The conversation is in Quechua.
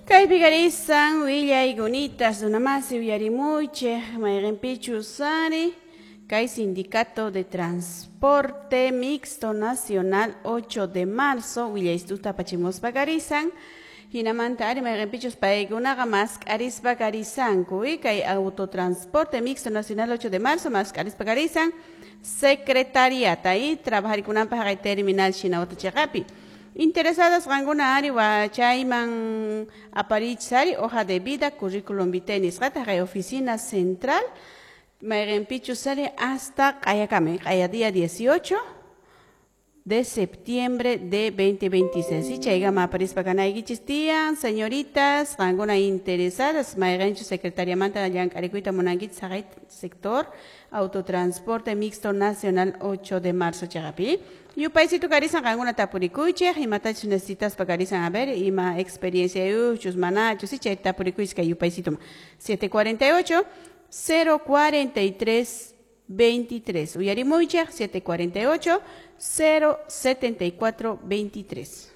Kaypi karisan willaykunitas runamasi uyarimuychik mayqinpichus ari kay Sindicato de Transporte Mixto Nacional 8 de marzo willaystuta apachimuspa karisan hinamanta ari mayqinpichus paykunaqa mask'arispa karisanku kay Autotransporte Mixto Nacional 8 de marzo mask'arispa karisan secretariata y trabajarikunanpaq haqay terminal Shinawata chiqapi. Interesadas qankuna ari chayman aparichis ari hoja de vida, currículum vitae nisqata haqay oficina central mayqinpichus ari hasta q'ayakami q'aya día 18 de septiembre de 2026. Chaykama aparispa kanaykichis tiyan, señoritas, qankuna interesadas mayqinchus secretariamanta llank'arikuyta munankichis haqay sector Autotransporte Mixto Nacional 8 de marzo chiqapi. Yupaysitu karisan qankuna tapurikuychik, imatachus necesitaspa karisan, a ver, ima experiencia yuchus manachus, chay tapurikuychis kay yupaysituma 748 043 23. Uyarimuychik 748 074 23.